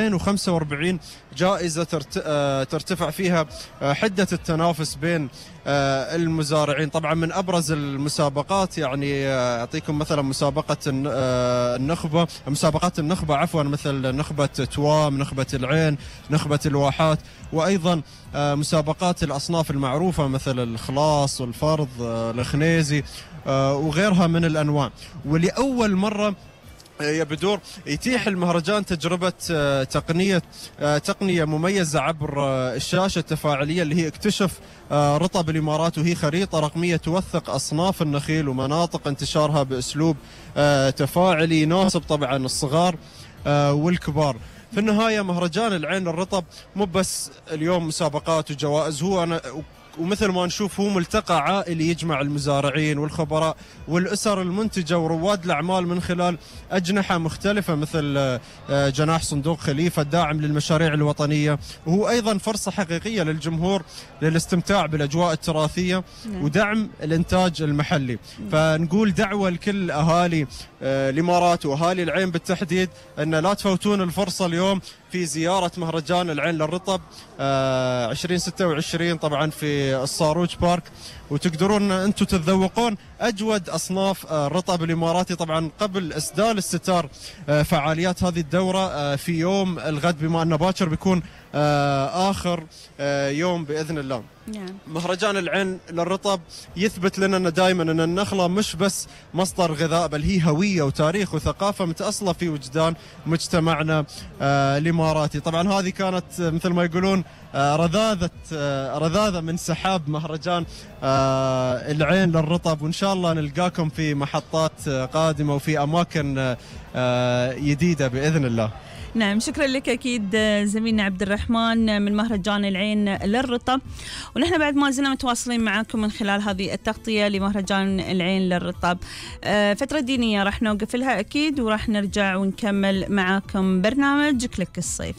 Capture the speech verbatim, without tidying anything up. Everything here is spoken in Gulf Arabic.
مئتين وخمسة وأربعين جائزة ترتفع فيها حدة التنافس بين المزارعين. طبعا من أبرز المسابقات يعني أعطيكم مثلا مسابقة النخبة مسابقات النخبة عفوا مثل نخبة توام، نخبة العين، نخبة الواحات، وأيضا مسابقات الأصناف المعروفة مثل الخلاص والفرض الخنيزي وغيرها من الأنواع. ولأول مرة يا بدور يتيح المهرجان تجربة تقنية تقنية مميزة عبر الشاشة التفاعلية اللي هي اكتشف رطب الإمارات، وهي خريطة رقمية توثق أصناف النخيل ومناطق انتشارها بأسلوب تفاعلي يناسب طبعا الصغار والكبار. في النهاية مهرجان العين للرطب مو بس اليوم مسابقات وجوائز، هو أنا ومثل ما نشوف هو ملتقى عائلي يجمع المزارعين والخبراء والأسر المنتجة ورواد الأعمال من خلال أجنحة مختلفة مثل جناح صندوق خليفة الداعم للمشاريع الوطنية، وهو أيضا فرصة حقيقية للجمهور للاستمتاع بالأجواء التراثية ودعم الإنتاج المحلي. فنقول دعوة لكل أهالي الإمارات وأهالي العين بالتحديد أن لا تفوتون الفرصة اليوم في زيارة مهرجان العين للرطب عشرين ستة وعشرين طبعا في الصاروج بارك، وتقدرون أنتم تتذوقون أجود أصناف الرطب الإماراتي طبعا قبل إسدال الستار فعاليات هذه الدورة في يوم الغد، بما أنه باكر بيكون آخر يوم بإذن الله. مهرجان العين للرطب يثبت لنا أن دائما أن النخلة مش بس مصدر غذاء، بل هي هوية وتاريخ وثقافة متأصلة في وجدان مجتمعنا الإماراتي. طبعا هذه كانت مثل ما يقولون رذاذة رذاذة من سحاب مهرجان العين للرطب، وإن شاء الله نلقاكم في محطات قادمة وفي أماكن جديدة بإذن الله. نعم، شكرا لك أكيد زميلنا عبد الرحمن من مهرجان العين للرطب، ونحن بعد ما زلنا متواصلين معاكم من خلال هذه التغطية لمهرجان العين للرطب. فترة دينية راح نوقف لها أكيد، وراح نرجع ونكمل معاكم برنامج كليك الصيف.